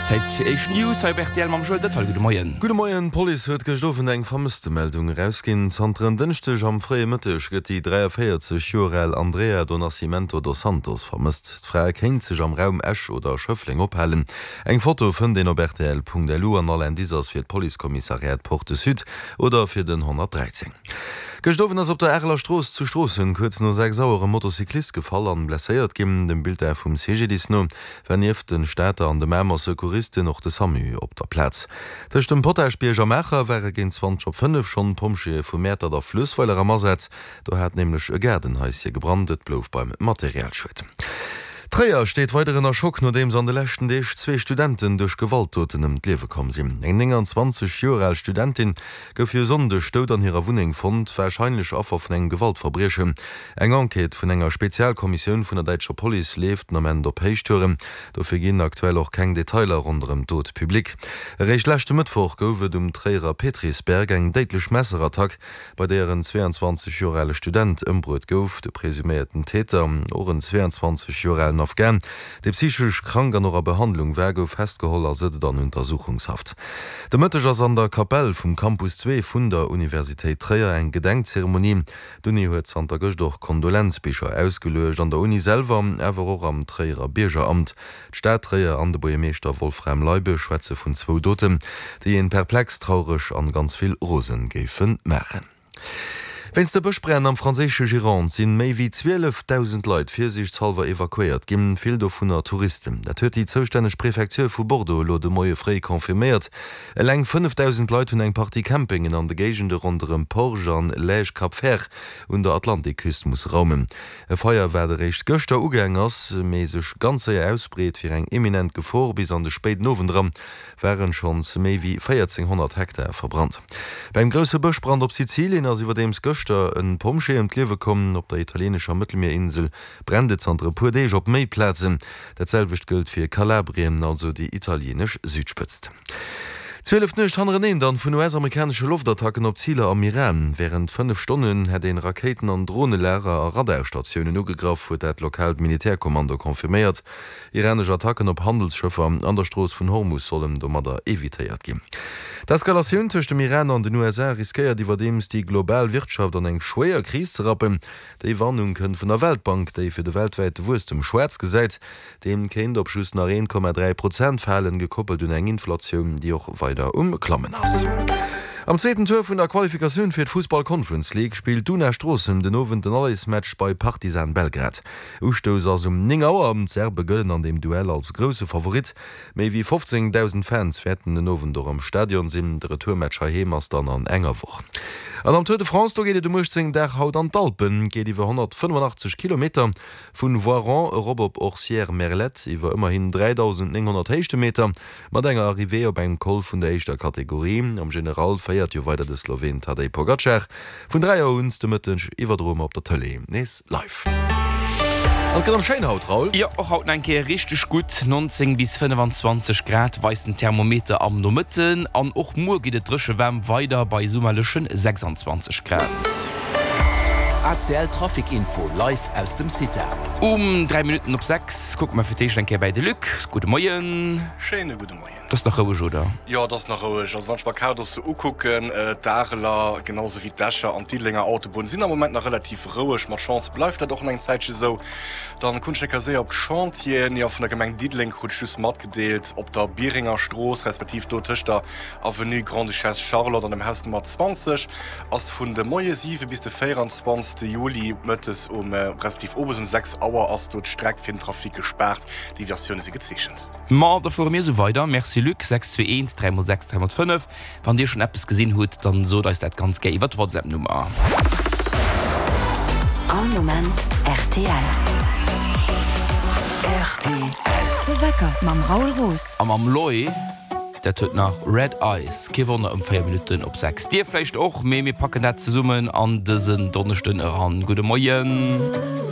Zäit fir éischt News hei op rtl mam Joël Dëttal. Gudde Moien. Gudde Moien. D'Police huet gëscht Owend eng Vermësstemeldung erausginn. Zanter en Dënschdeg am fréie Mëtteg gëtt déi 43 Joer al Andrea do Nascimento dos Santos vermësst. D'Fra kéint sech am Raum Esch oder Schëffleng ophalen. Eng Foto fënnt een op rtl.lu an all Indice ass fir d'Policekommissariat Porte Sud oder fir den 113. Gëscht Owend ass op der Areler Strooss zu Stroossen kuerz no 6 Auer e Motocyclist gefall an blesséiert ginn. Dem Bulletin vum CGDIS no war nieft de Stater an de Mamer Secouristen och de Samu op der Plaz. Tëscht dem Potaschbierg a Maacher ware géint 20 op 5 schonn d'Pompjeeë vu Mäertert a Fluessweiler am Asaz. Do hat nämlech e Gaardenhaisje gebrannt. Et blouf beim Materialschued. Tréier steet weider ënner Schock, nodeems an de leschten Deeg zwee Studenten duerch Gewaltdoten ëm d'Liewe komm sinn. Eng 29 Joer al Studentin gouf e Sonndeg dout an hirer Wunneng fonnt, warscheinlech Affer vun engem Gewaltverbriechen. Eng Enquête vun enger Spezialkommissioun vun der däitscher Police leeft den Ament op Héichtouren. Dofir ginn aktuell och keng Detailer ronderëm d'Dot public. Eréischt leschte Mëttwoch gouf et um Tréierer Petrisberg eng déidlech Messerattack, bei deeër en 22 Joer ale Student ëmbruet gouf. De presuméierten Täter, och en 22 Joer alen Afghan, dee psychesch krank an och a Behandlung war, gouf festgeholl a sëtzt an Untersuchungshaft. De Mëtteg ass an der Kapell vum Campus 2 vun der Universitéit Tréier eng Gedenkzeremonie. D'Uni huet zanter gëscht och Kondolenzbicher ausgeluecht, an der Uni selwer, awer och am Tréierer Biergeramt. D'Stad Tréier an de Buergermeeschter Wolfram Leibe schwätze vun zwou Doten, déi een perplex, traureg an ganz vill rosen géife maachen. Wéinst de Bëschbränn am franséische Gironde sinn méi wéi 12.000 Leit virsiichtshallwer evakuéiert ginn, vill dovunner Touristen. Dat huet déi zoustänneg Prefecture vu Bordeaux elo de Moie fréi confirméiert. Eleng 5.000 Leit hunn eng Partie Campingen an de Géigende ronderëm Porge an Lège-Cap-Vert un der Atlantikküst musse raumen. E Feier, wat eréischt gëschter ugaang ass, mee sech ganz séier ausbreet, wier eng eminent Gefor. Bis an de spéiden Owend eran waren schonns méi wéi 1.400 Hektar verbrannt. Beim grousse Bëschbrand op Sizilien ass iwwerdeems gëschter e Pompjee ëm d'Liewe komm. Op der italieenescher Mëttelmierinsel brennt et zanter e puer Deeg op méi Plazen. Dat selwecht gëllt fir Kalabrien, also déi italieenesch Südspëtzt. 12 Nuecht hannereneen dann vun US-amerikanesche Loftattacken op Ziler am Iran. Wärend 5 Stonnen hätt een Rakéiten an Dronelager a Radarstatiounen ugegraff, huet dat lokaalt Militärkommando confirméiert. Iranesch Attacken op Handelsschëffer an der Strooss vun Hormus sollen domadder evitéiert ginn. D'Eskalatioun tëscht dem Iran an den USA riskéiert iwwerdeems déi global Wirtschaft an eng schwéier Kris ze rappen. Déi Warnung kënnt vun der Weltbank, déi fir de weltwäite Wuesstem schwaarz gesäit. Deen kéint op just nach 1,3 Prozent falen, gekoppelt un eng Inflatioun, déi och weider um Klammen ass. Am zweeten Tour vun der Qualifikatioun fir d'Fussball Conference League spillt d'Una Stroossen den Owend den Allersmatch bei Partizan Belgrad. Ustouss ass um 9 Auer. D'Serbe gëllen an deem Duell als grousse Favorit. Méi wéi 15.000 Fans wäerten den Owend och am Stadion sinn. De Retourmatch heiheem ass dann an enger Woch. An am Tour de France, do geet et um 18 Dag haut an d'Alpen. Geet iwwer 185 Kilometer vun Voiron erop op Orcières-Merlette iwwer ëmmerhin 3.900 Héichtemeter mat enger Arrivée op engem Col vun der éischter Kategorie. Am General féiert jo weider de Sloween Tadej Pogacar. Vun 3 Auer un de Mëtteg iwwerdroe mer op der Tëlee nees live. An et gëtt erëm schéin haut, Raoul. Jo, och haut nach eng Kéier richteg gutt, 19 bis 25 Grad weist den Thermometer am Nomëtten. An och muer geet et dréche waarm weider bei summerleche 26 Grad. ACL Trafic Info live aus dem CITA. Um 3 Minutten op 6 kucke mer fir d'éischt eng Kéier bäi de Luc. Gudde Moien. Schéine gudde Moien. Et ass nach roueg, oder? Jo, et ass nach roueg. Also wann ech mer d'Kaart och sou ukucken, d'Areler, genau sou wéi d'Escher an d'Diddelenger Autobunn sinn am Moment nach relativ roueg. Mat Chance bleift dat och nach eng Zäitche sou. Dann kucken ech eng Kéier séier op d'Chantieren. Jo, vun der Gemeng Diddeleng krut ech just matgedeelt, op der Bierenger Strooss, respektiv do tëscht der Avenue Grande-Duchesse Charlotte an dem Haus Nummer 20, ass vun de Moie 7 bis de 24 Juli mëttes um, respektiv owes um 6 Auer ass do d'Streck fir den Trafic gespaart. Deviatioune si gezeechent. Ma da fuere mir esou weider. Merci Luc. 6 2 1 3 mol 6 3 mol 5. Wann dir schonn eppes gesinn hutt, dann sot eis dat ganz gär iwwer d'Whatsapp Nummer. All Moment rtl. Rtl. De Wecker mam Raoul Roos. A mam Loy, dat huet nach Red Eyes. Kee Wonner ëm 4 Minutten op 6. Dir vläicht och, mee mir packen dat zesummen an dësen Donneschden eran. Gudde Moien.